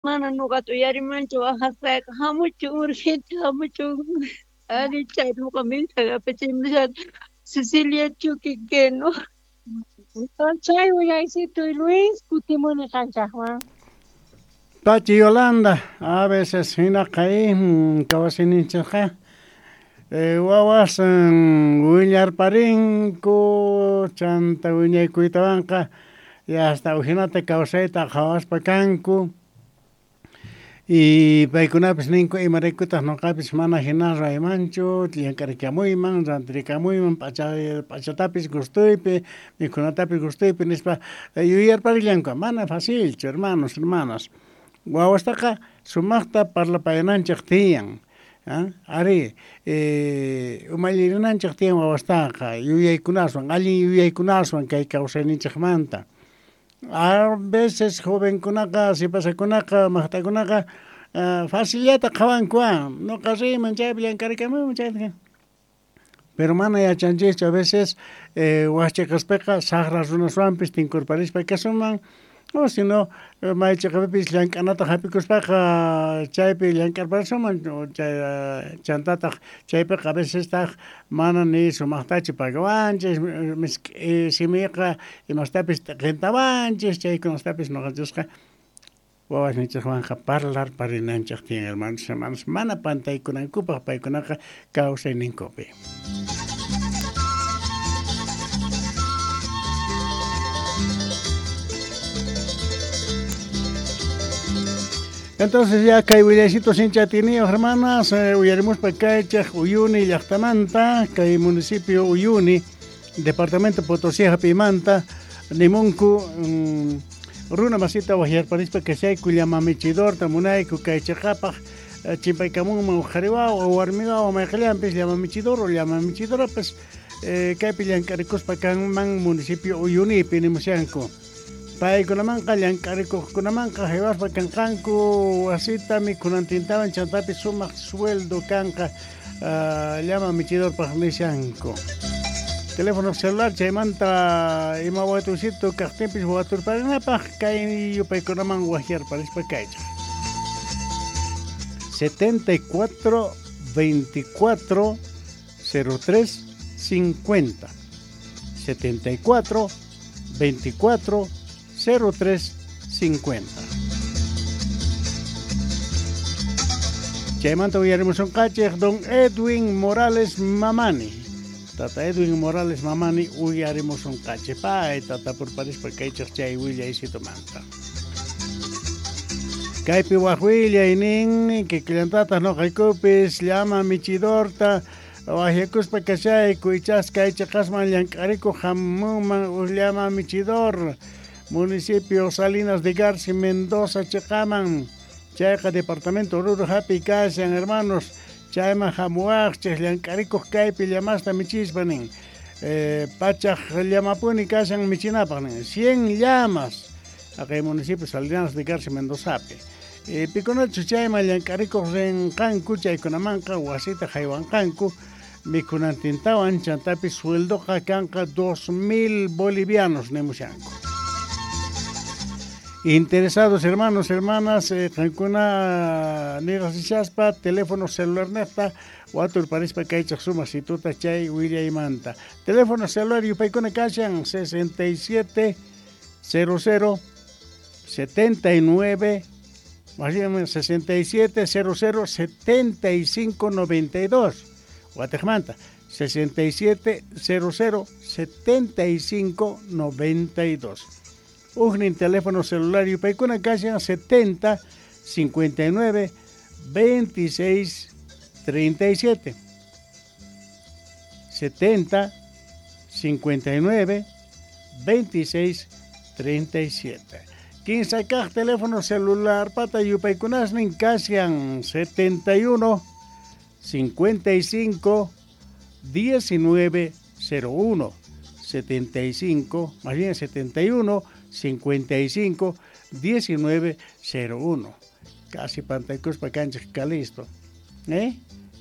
Mana nuqata uyarimanchu waqasqayqa, hamuchun urgente hamuchun. Ari chay nuqa mensaje apachimushan Cecilia Chuquiqueno. Chay willaysituy Luis kutimuni qanchaqman. Pachi Yolanda, a veces hinaqa kawsayninchikqa wawas willarparinku chanta wiñaykuytawanqa y hasta ujinata kawsayta qhawaspa kanku y paykunapis ninku imaraykutaq nuqapis mana hina ruraymanchu llank'arikamuyman rantirikamunman p'achatapis gustuypi mikhunatapis gustuypi nispa yuyarparillanku mana facilchu hermanos, hermanas wawastaqa sumaqta parlapayananchik tiyan ari umallirinanchik tiyan wawastaqa yuyaykunaswan allin yuyaykunaswan kay kawsayninchikmanta. A veces jovenkunaqa sipasakunaqa maqtakunaqa facillata qhawanku nuqa riyman chaypi llank'arikamuyman chaypi pero mana yachanchikchu a veces wak saqra runaswanpis tinkurparispa kasunman o si no may chiqapipis llank'anata hap'ikuspaqa chaypi llank'arparisunman chantataq chaypiqa a veces taq mana ni sumaqtachu pagawanchik misk'i simiqa imastapis t'intawanchik chaykunastapis nuqanchisqa wawasninchikwanqa parlarparinanchik tiyan hermanos, hermanas mana pantaykunankupaq paykunaqa kawsayninkupi. Entonces ya kay willaysitu sincha atiyniyuq hermanas uyarimuspa kaychaq Uyuni llaqtamanta kay municipio Uyuni departamento Potosí hap'imanta nimunku runa masita waqyarparispa kashayku llama michidorta munayku kay chiqapaq chimpaykamunman uq qhari wawa warmi wawa mayqillanpis llama michidor o llama michidorapas kaypi llank'arikuspa kanman municipio Uyunipi nimushanku. Paykunamanqa llank'arikuqkunamanqa haywaspa kanqanku wasita mikhunantintawan chantapis sumaq sueldo kanqa llama michidorpaq nishanku. Teléfono celular chaymanta ima watuysito kaqtinpis waturparinapaq kay yupaykunaman waqyarparispa kaychaq. 74 24 03 50 74 24 03 50. Chaymanta uyarimusunqachik don Edwin Morales Mamani. Tata Edwin Morales Mamani uyarimusunqachik pay tata purparispa kaychaq chay willaysitumanta. Kaypi waq willaynin kikillantataq nuqaykupis llama michidorta waqyakuspa kashayku ichas kay chiqasman llank'arikuq hamunman uq llama michidor municipio Salinas de Garci Mendoza chiqaman chayqa departamento Oruro hapi kashan hermanos chayman hamuwaqchik llank'arikuq kaypi llamasta michispa nin pachaq llamapuni kashan michinapaq nin 100 llamas aqay municipio Salinas de Garci Mendozapi pikunachu chayman llank'arikuq rinqanku chaykunamanqa wasita haywanqanku mikhunantintawan chantapis sueldoqa kanqa 2000 bolivianos nimushanku. Interesados hermanos, hermanas, qankuna nirasishaspa teléfono celular nefta waturparispa kaychaq sumaq situta chay willaymanta. Teléfono celular yupaykuna kashan 67 00 79 más bien 67 00 75 92 Watejmanta 67 00 75 92. Ujnin teléfono celular yupaykuna kashan 70 59 26 37 70 59 26 37. Kinsa kaq teléfono celular pata yupaykunasnin kashan 71 55 19 01 75 más bien 71 55 19 01. Casi pantaykuspa kanchik kalisto.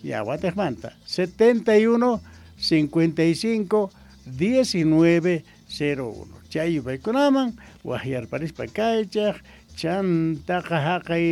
Ya watejmanta 71 55 19 01. Chay yupaykunaman waqyarparispa kaychaq Chantaqa haqay.